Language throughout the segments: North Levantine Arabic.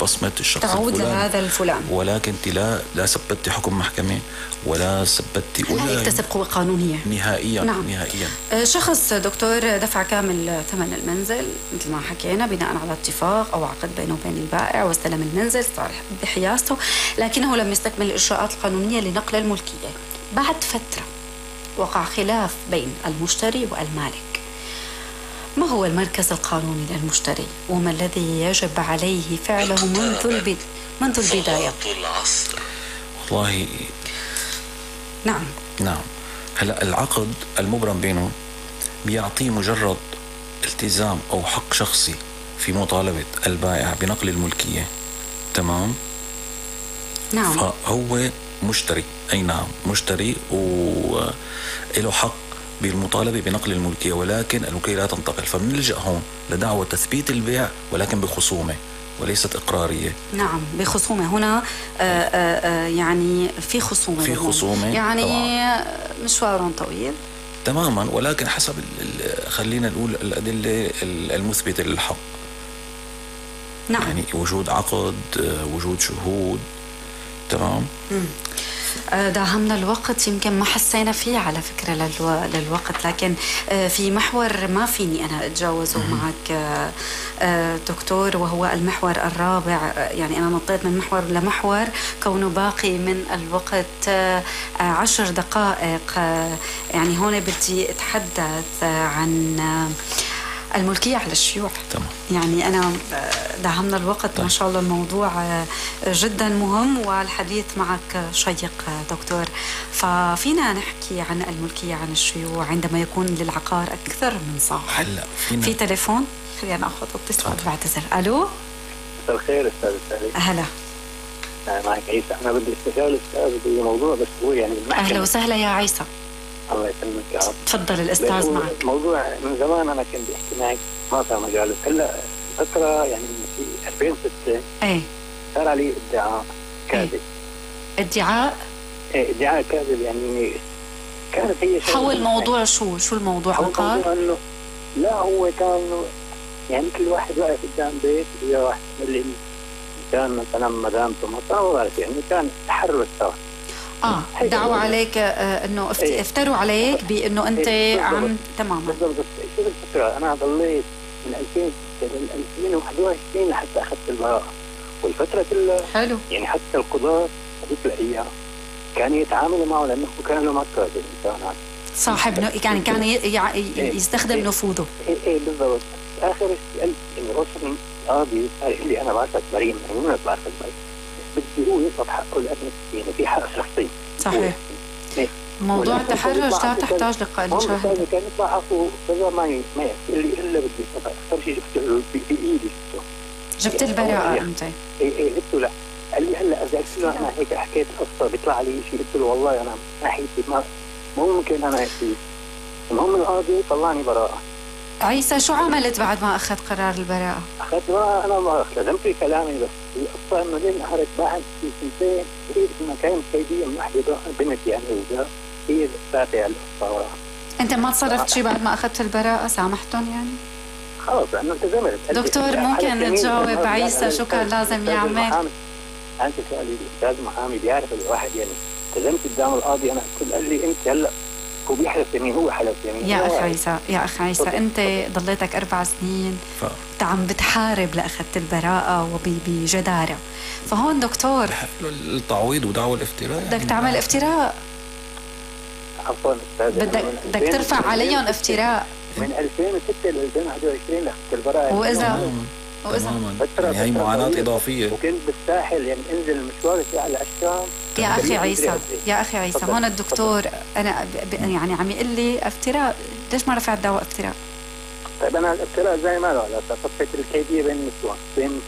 بصمة الشخص تعود الفلاني لهذا الفلان، ولكن انت لا ثبتي حكم محكمة ولا ثبتي ولا يكتسب قوة قانونية نهائيا. نعم. نهائيا. شخص دكتور دفع كامل ثمن المنزل مثل ما حكينا بناء على اتفاق أو عقد بينه وبين البائع، واستلم المنزل صار بحيازته، لكنه لم يستكمل الإجراءات القانونية لنقل الملكية. بعد فترة وقع خلاف بين المشتري والمالك. ما هو المركز القانوني للمشتري وما الذي يجب عليه فعله منذ البداية؟ والله نعم. هلا العقد المبرم بينه بيعطيه مجرد التزام أو حق شخصي في مطالبة البائع بنقل الملكية. تمام. نعم. فهو مشتري، أي نعم مشتري وله حق بالمطالبة بنقل الملكية، ولكن الملكية لا تنتقل. فمنلجأ هون لدعوة تثبيت البيع ولكن بخصومة وليست إقرارية. نعم بخصومة. هنا يعني في خصومة يعني طبعاً. مشوار طويل تماما، ولكن حسب خلينا نقول الأدلة المثبتة للحق. نعم. يعني وجود عقد، وجود شهود. تمام. داهمنا الوقت، يمكن ما حسينا فيه على فكرة للوقت، لكن في محور ما فيني أنا أتجاوزه معك دكتور، وهو المحور الرابع. يعني أنا نطيت من محور لمحور كونه باقي من الوقت 10 دقائق. يعني هون بدي أتحدث عن الملكية على الشيوع. تمام. يعني أنا داهمنا الوقت. طيب. ما شاء الله الموضوع جدا مهم والحديث معك شيق دكتور. ففينا نحكي عن الملكية عن الشيوع عندما يكون للعقار أكثر من صاحب. في تليفون، خلينا نأخذ اتصال بعتذر. ألو. مساء الخير أستاذ سالي. أهلا. معك عيسى. أنا بدي استشار الأستاذ بموضوع، بس هو يعني المحكمة. أهلا وسهلا يا عيسى. الله يسلمك يا رب. تفضل الأستاذ معك. موضوع من زمان أنا كنت بحكي معك ما صار مجال. هلا فترة يعني في 2006 صار علي ادعاء كاذب. ادعاء كاذب. يعني كانت هي حول الموضوع شو الموضوع؟ عقار؟ انه لا، هو كان يعني كل واحد واقف قدام بيت ويا واحد اللي كان مثلا مدامته مطاوره، يعني كان تحرك سوا. دعوا عليك انه افتروا عليك بانه انت عم. تماما. بالضبط. شو الفكره؟ انا ضليت من 2006 ل 2021 لحتى اخذت البراءه، والفتره كلها حلو. يعني حتى القضاة هذيك الايام كانوا يتعاملوا معه لانه كان له مكر بالانسان صاحب، يعني كان يستخدم نفوذه. ايه بالضبط. اخر شيء يعني وصل القاضي قال لي انا بعتك بريء، يعني ما بعتك بريء، بدي هو يطلب حقه لانه يعني في حق شخصي. صحيح. موضوع التحرش لا تحتاج لقاء شاهد. كان يطلع حقه كذا ما يحكي لي الا بدي اكثر شيء جبته بايدي. جبت البراءة انت؟ ايه جبته. لا قال لي هلا اذا قلت له انا هيك حكيت قصه بيطلع لي شيء، قلت له والله انا ناحيتي ما ممكن انا هيك. المهم القاضي طلعني براءه. عيسى شو عملت بعد ما اخذ قرار البراءه؟ اخذت براءه. انا ما التزمت في كلامي، بس القصه انه لين نهارت بعد في سنتين قريت انه كانت كيديه من واحده بنت يعني هي فاتحه القصه وراها. انت ما تصرفت شيء بعد ما اخذت البراءه؟ سامحتهم يعني؟ خلص انا التزمت. دكتور ممكن تجاوب عيسى شو كان لازم يعمل؟ انت سؤالي الاستاذ محامي بيعرف الواحد يعني التزمت قدام القاضي. انا قال لي انت هلا هو بيحلف يمين، هو حلف يمين. يا اخ عيسى انت ضليتك 4 سنين عم بتحارب لاخذت البراءه وبجداره. فهون دكتور التعويض ودعوى الافتراء بدك تعمل افتراء. عفوا استاذ بدك ترفع عليهم افتراء من 2006 ل 2021 لاخذت البراءه. وإذا يعني هي معاناة إضافية. وكنت بالساحل يعني انزل المشوار على الشام. يا أخي عيسى هون الدكتور أنا يعني عم يقول لي افتراء، ليش ما رفعت دعوى افتراء؟ طيب أنا الافتراء زي ما له على صفحة الكيدية بين النسوان.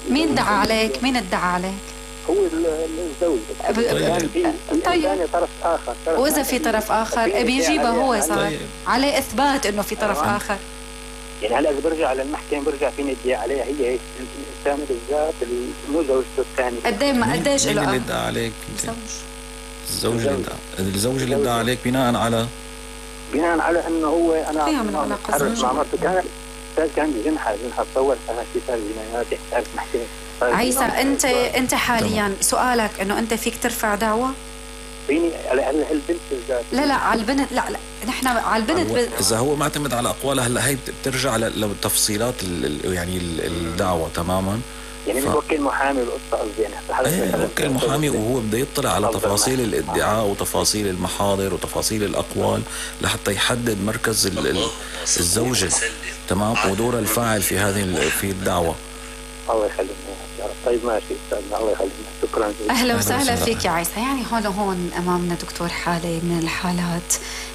مين دعا عليك؟ مين ادعى عليك؟ هو الزوج. طيب طرف آخر. وإذا في طرف آخر بيجيبه هو صار عليه إثبات إنه في طرف آخر. يعني هلا اذا برجع على المحكمه برجع فيني ادعي عليها هي الانسان بالذات مو زوجته الثانيه. قديش له؟ مين اللي ادعى عليك؟ الزوج اللي ادعى عليك بناء على انه هو انا حرص مع مرته. كان بجنحه تصور انا في صار جنايات. تعرف محكمه عيسى انت حاليا سؤالك انه انت فيك ترفع دعوة؟ فيني على البنت بالذات؟ لا على البنت، لا نحن على البنت اذا هو معتمد على اقوالها هلا هي بترجع لتفصيلات يعني الدعوة تماما. يعني نوكل محامي بالقصة قصدي يعني نوكل محامي وهو بده يطلع على تفاصيل الادعاء وتفاصيل المحاضر وتفاصيل الأقوال لحتى يحدد مركز الزوجة تمام ودور الفاعل في الدعوة. الله يخلينا. طيب ماشي استاذنا، الله يخلينا، شكرا. اهلا وسهلا فيك يا عيسى. يعني هون امامنا دكتور حالة من الحالات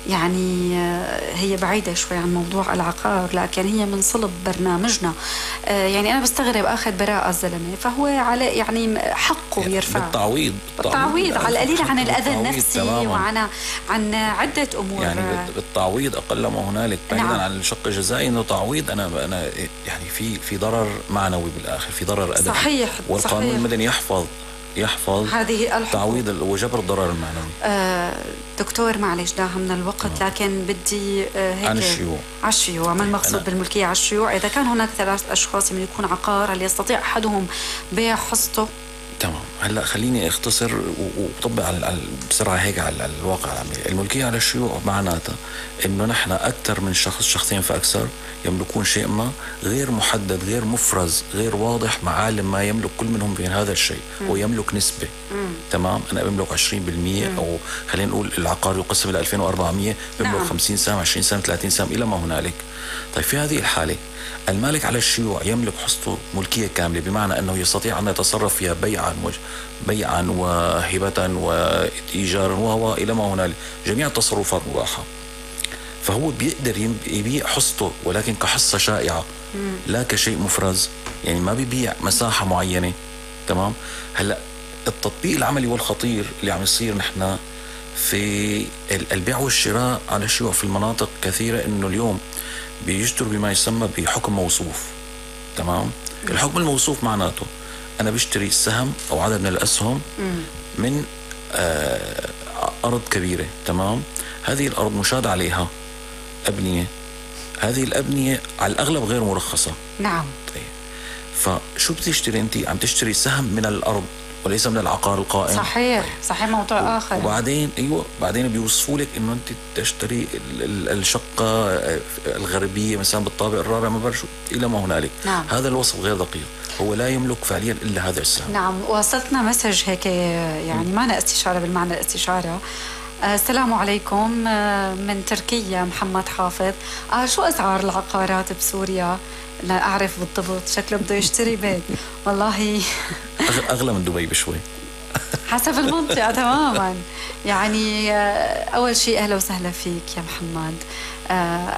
يعني هي بعيدة شوي عن موضوع العقار لكن هي من صلب برنامجنا. يعني انا بستغرب اخذ براءة الزلمة فهو على يعني حقه يرفع بالتعويض على القليل عن الاذى النفسي عن عدة امور. يعني بالتعويض اقل ما هنالك بعيدا عن الشق الجزائي انه تعويض. انا يعني في ضرر معنوي بالاخر، في ضرر ادبي. صحيح. والقانون المدني يحفظ هذه تعويض وجبر الضرر المعنوي. دكتور معلش داهمنا الوقت لكن بدي هيك عن الشيوع ما المقصود بالملكية على الشيوع؟ إذا كان هناك 3 أشخاص من يكون عقار هل يستطيع أحدهم بيع حصته؟ تمام. هلا خليني اختصر وطبق بسرعه هيك على الواقع العملي. الملكيه على الشيوع معناتها انه نحن اكثر من شخصين فاكثر يملكون شيء ما غير محدد، غير مفرز، غير واضح، معالم ما يملك كل منهم من هذا الشيء ويملك نسبه. تمام. انا بملك 20% او خلينا نقول العقار يقسم الى 2400 بملك 50 سهم 20 سهم 30 سهم الى ما هنالك. طيب في هذه الحاله المالك على الشيوع يملك حصته ملكية كاملة، بمعنى أنه يستطيع أن يتصرف فيها بيعا وهبة وإيجارا وهو إلى ما هنالك، جميع التصرفات مباحة. فهو بيقدر يبيع حصته ولكن كحصة شائعة لا كشيء مفرز، يعني ما بيبيع مساحة معينة. تمام. هلأ التطبيق العملي والخطير اللي عم يصير نحن في البيع والشراء على الشيوع في المناطق كثيرة إنه اليوم بيجتر بما يسمى بحكم موصوف. تمام. الحكم الموصوف معناته أنا بشتري سهم أو عدد من الأسهم من أرض كبيرة. تمام. هذه الأرض مشاد عليها أبنية، هذه الأبنية على الأغلب غير مرخصة. نعم. طيب فشو بتشتري أنت؟ عم تشتري سهم من الأرض وليس من العقار القائم. صحيح. صحيح. موضوع آخر. وبعدين بعدين بيوصفوا لك انه انت تشتري الشقة الغربية مثلا بالطابق الرابع ما بعرف شو الى ما هنالك. نعم. هذا الوصف غير دقيق، هو لا يملك فعليا الا هذا السهم. نعم. وصلتنا مسج هيك يعني معنا استشارة بالمعنى الاستشارة. السلام عليكم من تركيا محمد حافظ. شو أسعار العقارات بسوريا؟ لا أعرف بالضبط، شكله بده يشتري بيت. والله أغلى من دبي بشوي حسب المنطقة. تماما. يعني أول شيء أهلا وسهلا فيك يا محمد.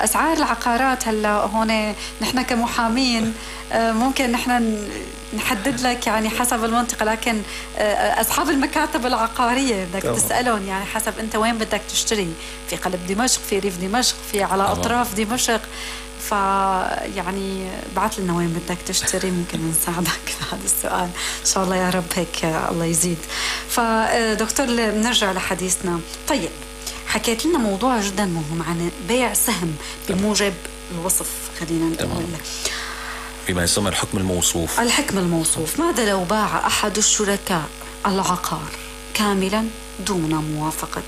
أسعار العقارات هلا هون نحن كمحامين ممكن نحن نحدد لك يعني حسب المنطقة، لكن أصحاب المكاتب العقارية بدك تسألهم يعني حسب أنت وين بدك تشتري، في قلب دمشق، في ريف دمشق، في على أطراف دمشق. فيعني بعت لنا وين بدك تشتري ممكن نساعدك في هذا السؤال إن شاء الله يا رب. هيك الله يزيد. فدكتور بنرجع لحديثنا. طيب حكيت لنا موضوع جدا مهم عن بيع سهم بموجب الوصف، خلينا نقول بما يسمى الحكم الموصوف. الحكم الموصوف. ماذا لو باع أحد الشركاء العقار كاملا دون موافقة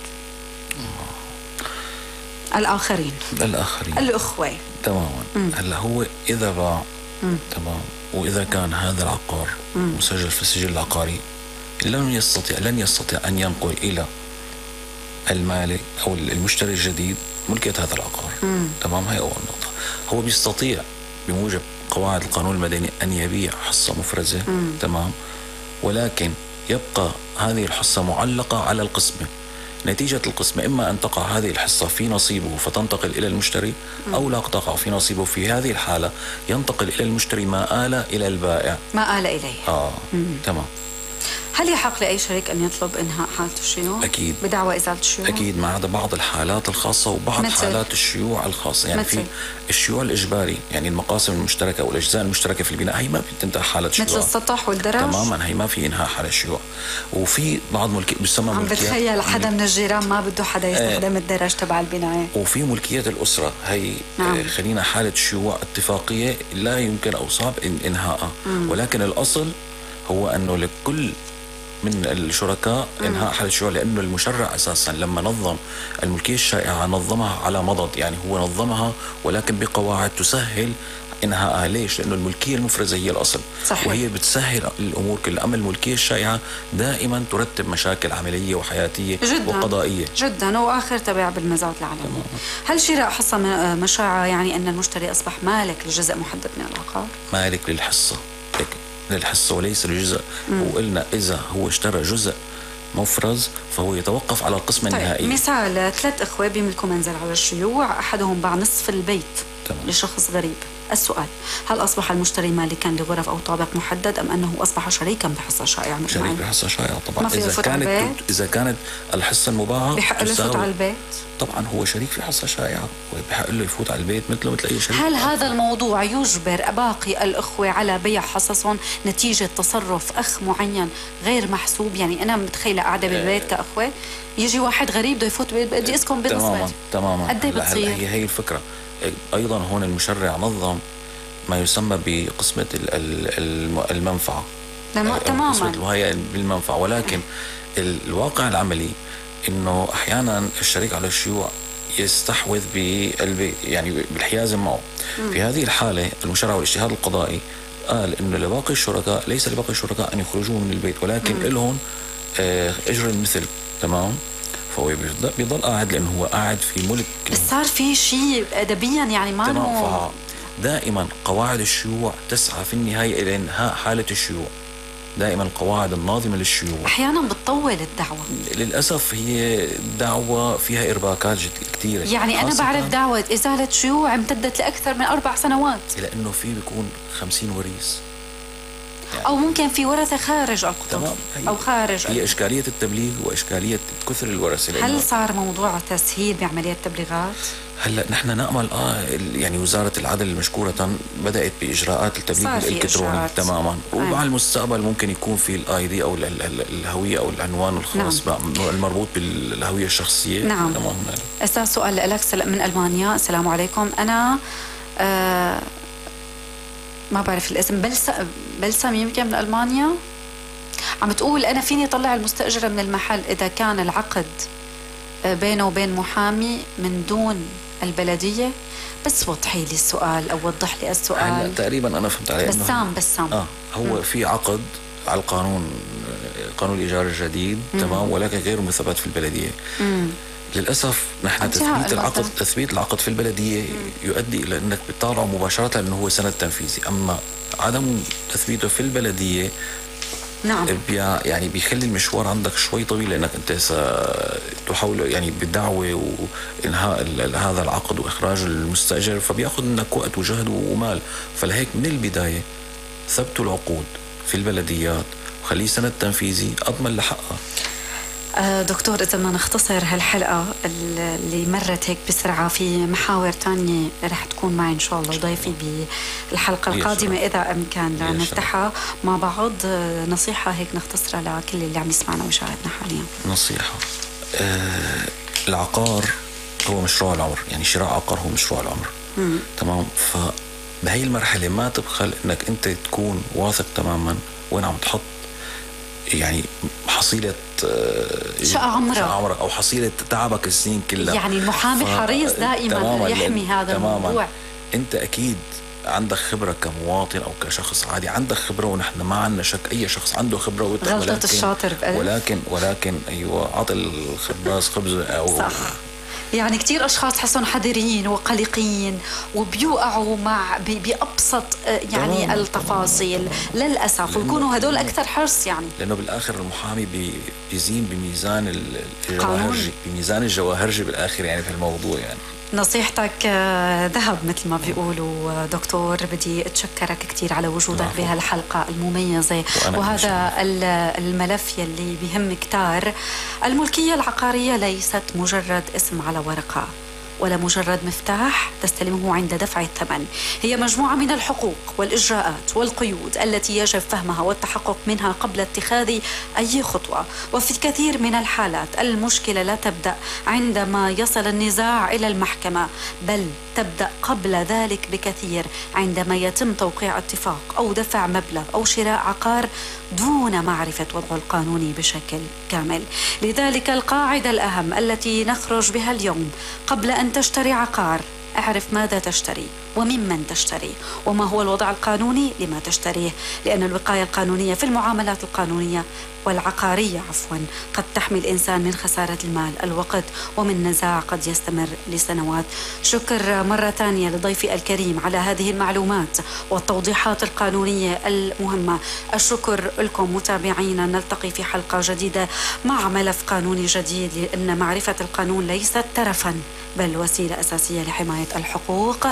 الآخرين الأخوة؟ تماما. هلا هو إذا باع تمام وإذا كان هذا العقار مسجل في السجل العقاري لن يستطيع أن ينقل إلى المالك أو المشتري الجديد ملكية هذا العقار. تمام. هي أول نقطة. هو بيستطيع بموجب قواعد القانون المدني أن يبيع حصة مفرزة. تمام. ولكن يبقى هذه الحصة معلقة على القسمة. نتيجة القسمة إما أن تقع هذه الحصة في نصيبه فتنتقل إلى المشتري أو لا تقع في نصيبه. في هذه الحالة ينتقل إلى المشتري ما آل إلى البائع، ما آل إليه. تمام. هل يحق لأي شريك أن يطلب إنهاء حالة الشيوع؟ أكيد. بدعوى إزالة الشيوع؟ أكيد، ما عدا بعض الحالات الخاصة وبعض حالات الشيوع الخاصة. يعني في الشيوع الإجباري، يعني المقاسم المشتركة أو الأجزاء المشتركة في البناء هي ما بتنتهي حالة شيوع، مثل السطح والدرج. تماما. هي ما في إنهاء حالة الشيوع. وفي بعض بيسمى عم بتخيل حدا من الجيران ما بده حدا يستخدم الدرج تبع البناية. وفي ملكية الأسرة هي خلينا حالة شيوع اتفاقية لا يمكن أو صعب إنهاءها. ولكن الأصل هو أنه لكل من الشركاء انهاء حالة الشيوع، لأنه المشرع أساسا لما نظم الملكية الشائعة نظمها على مضض، يعني هو نظمها ولكن بقواعد تسهل انهائها. ليش؟ لأنه الملكية المفرزة هي الأصل، صحيح. وهي بتسهل الأمور كلها. أما الملكية الشائعة دائما ترتب مشاكل عملية وحياتية جداً وقضائية جدا، وآخر تبع بالمزاد العالمي. هل شراء حصة مشاعة يعني أن المشتري أصبح مالك لجزء محدد من العقار؟ مالك للحصة، للحصة وليس لجزء. وقلنا إذا هو اشترى جزء مفرز فهو يتوقف على القسمة النهائية. مثال 3 إخوة بيملكوا منزل على الشيوع، أحدهم باع نصف البيت لشخص غريب. السؤال: هل أصبح المشتري مالكا لغرف أو طابق محدد أم أنه أصبح شريكا بحصة شائعة؟ شريك بحصة شائعة طبعا. إذا كانت الحصة المباعة بحق له يفوت على البيت؟ طبعا هو شريك في حصة شائعة وبحق له يفوت على البيت مثله مثل أي شريك. هل هذا الموضوع يجبر باقي الأخوة على بيع حصصهم نتيجة تصرف أخ معين غير محسوب؟ يعني أنا متخيلة قاعدة بالبيت كأخوة، يجي واحد غريب بده يفوت بدي اسكن بالنسبة تماما. قد ايه بتصير؟ هي الفكرة. أيضا هون المشرع نظم ما يسمى بقسمة المنفعة. تماما. وهي بالمنفعة، ولكن الواقع العملي إنه أحيانا الشريك على الشيوع يستحوذ بالبيت، يعني بالحيازة معه. في هذه الحالة المشرع والاجتهاد القضائي قال إنه لباقي الشركاء، ليس لباقي الشركاء أن يخرجوا من البيت، ولكن لهم أجر المثل. تمام. فهو بيضل قاعد لأنه هو قاعد في ملك. بس صار في شيء أدبيا يعني ما تمام. دائما قواعد الشيوع تسعى في النهاية إلى إنهاء حالة الشيوع. دائما القواعد الناظمة للشيوع أحيانا بتطول الدعوة. للأسف هي دعوة فيها إرباكات كثيرة. يعني أنا بعرف دعوة إزالة شيوع امتدت لأكثر من 4 سنوات، لأنه في بيكون 50 وريث يعني. أو ممكن في ورثة خارج القطر أو خارج. هي إشكالية التبليغ وإشكالية كثر الورثة. هل صار موضوع تسهيل بعملية التبليغات؟ هلا نحن نأمل يعني وزارة العدل مشكورة بدأت بإجراءات التبليغ الإلكتروني. تماما. ومع المستقبل ممكن يكون في الآي دي أو الهوية أو العنوان الخاص. نعم. المربوط بالهوية الشخصية. نعم. أستاذ سؤال لك من ألمانيا. السلام عليكم. أنا ما بعرف الاسم، بلسم يمكن من ألمانيا، عم تقول أنا فيني طلع المستأجرة من المحل إذا كان العقد بينه وبين محامي من دون البلدية. بس وضحي لي السؤال أو وضح لي السؤال. هلا تقريبا أنا فهمت عليه. بسام هو في عقد على قانون الإيجار الجديد. تمام. ولكن غير مثبت في البلدية. للأسف نحن تثبيت العقد في البلدية يؤدي إلى أنك بتطالعه مباشرة لأنه هو سند تنفيذي. أما عدم تثبيته في البلدية نعم يعني بيخلي المشوار عندك شوي طويل، لأنك أنت ستحاول يعني بالدعوة وإنهاء هذا العقد وإخراج المستأجر، فبيأخذ منك وقت وجهد ومال. فلهيك من البداية ثبتوا العقود في البلديات وخليه سند تنفيذي أضمن لحقها. دكتور، إذا بدنا نختصر هالحلقة اللي مرت هيك بسرعة، في محاور تانية رح تكون معي إن شاء الله وضيفي بالحلقة القادمة إذا أمكن نفتحها مع بعض. نصيحة هيك نختصرها لكل اللي عم يسمعنا ويشاهدنا حاليا. نصيحة: العقار هو مشروع العمر، يعني شراء عقار هو مشروع العمر. تمام. فبهي المرحلة ما تبخل إنك أنت تكون واثق تماما وين عم تحط يعني حصيلة شقة عمرك أو حصيلة تعبك السنين كلها. يعني المحامي حريص دائما يحمي هذا الموضوع. أنت أكيد عندك خبرة كمواطن أو كشخص عادي، عندك خبرة، ونحن ما عندنا شك أي شخص عنده خبرة. غلطة الشاطر بقلب. ولكن أيوة، عطي الخباز خبزه أو صح. يعني كتير أشخاص تحسون حذرين وقلقين وبيوقعوا بأبسط يعني التفاصيل للأسف، ويكونوا هدول أكثر حرص يعني. لأنه بالآخر المحامي بيزين بميزان الجواهرجي، بميزان الجواهرجي بالآخر يعني في الموضوع. يعني نصيحتك ذهب مثل ما بيقولوا. دكتور، بدي أتشكرك كتير على وجودك بهالحلقة المميزة وهذا الملف يلي بيهم كتار. الملكية العقارية ليست مجرد اسم على ورقة، ولا مجرد مفتاح تستلمه عند دفع الثمن. هي مجموعة من الحقوق والإجراءات والقيود التي يجب فهمها والتحقق منها قبل اتخاذ أي خطوة. وفي الكثير من الحالات المشكلة لا تبدأ عندما يصل النزاع إلى المحكمة، بل تبدأ قبل ذلك بكثير عندما يتم توقيع اتفاق أو دفع مبلغ أو شراء عقار دون معرفة وضعه القانوني بشكل كامل. لذلك القاعدة الأهم التي نخرج بها اليوم: قبل أن تشتري عقار اعرف ماذا تشتري وممن تشتري وما هو الوضع القانوني لما تشتريه، لأن الوقاية القانونية في المعاملات القانونية والعقارية قد تحمي الإنسان من خسارة المال، الوقت، ومن نزاع قد يستمر لسنوات. شكر مرة ثانية لضيفي الكريم على هذه المعلومات والتوضيحات القانونية المهمة. الشكر لكم متابعينا، نلتقي في حلقة جديدة مع ملف قانوني جديد، لأن معرفة القانون ليست ترفا بل وسيلة أساسية لحماية الحقوق.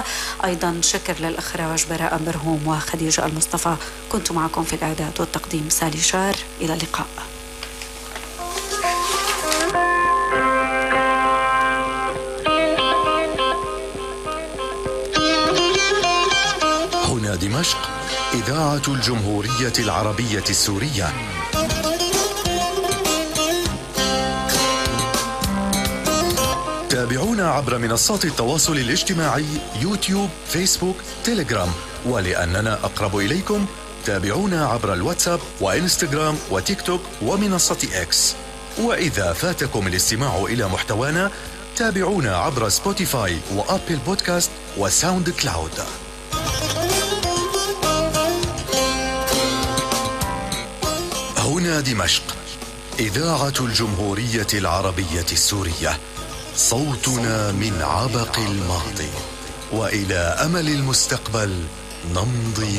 أيضا شكر للإخراج براء برهوم وخديجة المصطفى. كنت معكم في الإعداد والتقديم سالي شار. إلى اللقاء. هنا دمشق، إذاعة الجمهورية العربية السورية. تابعونا عبر منصات التواصل الاجتماعي يوتيوب، فيسبوك، تيليجرام، ولأننا أقرب إليكم تابعونا عبر الواتساب وإنستغرام وتيك توك ومنصة إكس. وإذا فاتكم الاستماع إلى محتوانا تابعونا عبر سبوتيفاي وأبل بودكاست وساوند كلاود. هنا دمشق، إذاعة الجمهورية العربية السورية، صوتنا من عبق الماضي وإلى أمل المستقبل نمضي